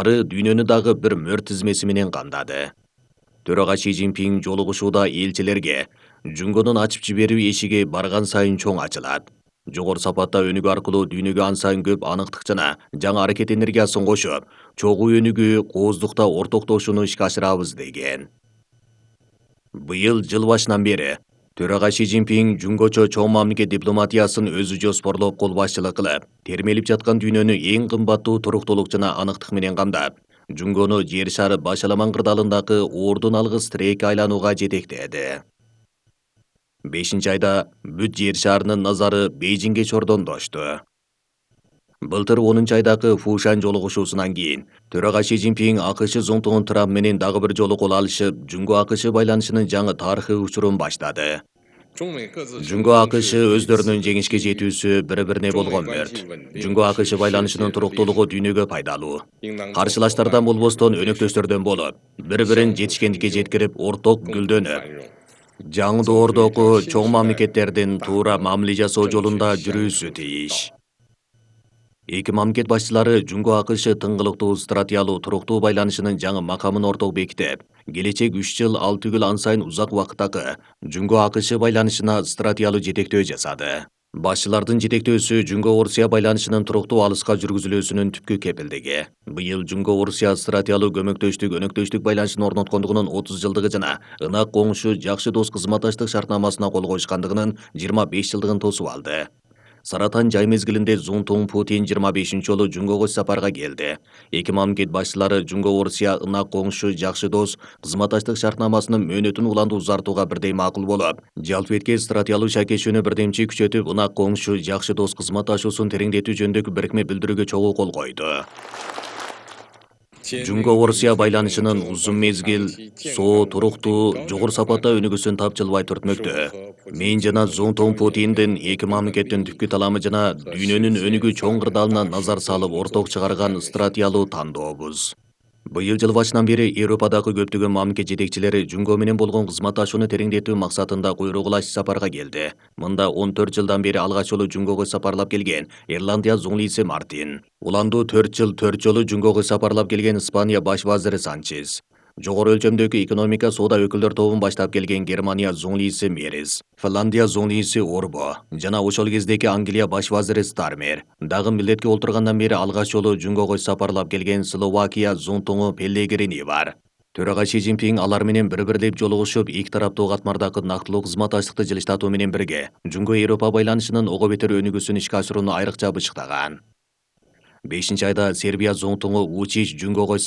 ары дүйнөнү дагы бир мөр тизмеси менен камдады. Төрага Си Цзиньпин жолугушууда элчилерге Жунгонун ачып жиберүү эшиги барган сайын чоң ачылат. Жогору сапатта өнүгүү аркылуу дүйнөгө ан сайын көп аныктык жана жаңы аракет энергиясын кошуп, чогуу өнүгүү, кооздукта ортоктошууну ишке ашырабыз деген. Быйыл жыл башынан бери төрага Си Цзиньпин жунгочо чоң мамлекет дипломатиясын өзү жоспорлоп кол башчылык кылып, термелип жаткан дүйнөнү эң кымбаттуу туруктуулук жана аныктык менен камдап, Жунгону жер шары башаламан кырдаалындагы ордун алгыс тирекке айланууга жетектеди. 5-айда бүт жер шарынын назары Бейжиңге чордондошту. Былтыр 10-айдагы Фушан жолугушуусунан кийин төрага Си Цзиньпин АКШ зонтугун Трамп менен дагы бир жолу кол алышып, Жунго-АКШ байланышынын жаңы тарыхый учурун баштады. Жунго-АКШ өздөрүнүн жеңишке жетүүсү бири-бирине болгон мөрт. Жунго-АКШ байланышынын туруктуулугу дүйнөгө пайдалуу. Каршылаштардан болбостон өнөктөштөрдөн болуп, бири-бирин жетишкендикке жеткирип, орток гүлдөнүп, жаңы доордогу чоң мамлекеттердин туура мамиле жасоо жолунда жүрүүсү тийиш. Эки мамлекет башчылары Жунго-АКШ тыңгылыктуу стратегиялуу туруктуу байланышынын жаңы макамын орток бекитип, келечек 3 жыл ал түгүл ан сайын узак убакыттагы Жунго-АКШ байланышына стратегиялуу жетектөө жасады. Башчылардын жетектөөсү Жунго-Орусия байланышынын туруктуу алыска жүргүзүлүүсүнүн түпкү кепилдиги. Быйыл Жунго-Орусия стратегиялуу көмөктөштүк, өнөктөштүк байланышын орноткондугунун 30 жылдыгы жана ынак коңшу, жакшы дос кызматташтык шартнамасына кол коюшкандыгынын 25 жылдыгын тосуп алды. Саратан жай мезгилинде Зунтун Путин 25 жолу Жунгого сапарга келди. Эки мамлекет башчылары Жунго-Орусия ынак коңшу, жакшы дос кызматташтык шартнамасынын мөөнөтүн уланды узартууга бирдей макул болуп, жалпы стратегиялуу шакешүүнү бирдемчи күчөтүп, ынак коңшу, жакшы дос кызматташуусун тереңдетүү жөнүндөгү бирикме билдирүүгө чогуу кол койду. Жунго-Орусия байланышынын узун мезгил, соо, туруктуу, жогору сапатта өнүгүүсүн тапжылбай түртмөктө. Мен жана Зунтун Путиндин эки мамлекеттин түпкү таламы жана дүйнөнүн өнүгүү чоң кырдаалына назар салып орток чыгарган стратегиялуу тандообуз. Быйыл жыл башынан бери Европадагы көптөгөн мамлекет жетекчилери Жунго менен болгон кызматташууну тереңдетүү максатында куйругулаш сапарга келди. Мында 14 жылдан бери алгач жолу Жунгого сапарлап келген Ирландия зуңлийси Мартин. Уланду 4 жолу Жунгого сапарлап келген Испания баш вазири Санчес. Жогору өлчөмдөгү экономика соода өкүлдөр тобун баштап келген Германия зуңлийси Мерис, Финляндия зуңлийси Орбо жана ошол кездеги Англия баш вазири Стармер. Дагы милдетке олтургандан бери алгач жолу Жунгого сапарлап келген Словакия зонтугу Пеллегрини бар. Төрага Си Цзиньпин алар менен бири-бирлеп жолугушуп, эки тараптуу катмардагы нактылуу кызматташтыкты жылыштатуу менен бирге Жунго-Европа байланышынын ого бетер өнүгүүсүн ишке ашырууну айрыкча бычыктаган. 5-айда Сербия зонтугу Вучич Жунгого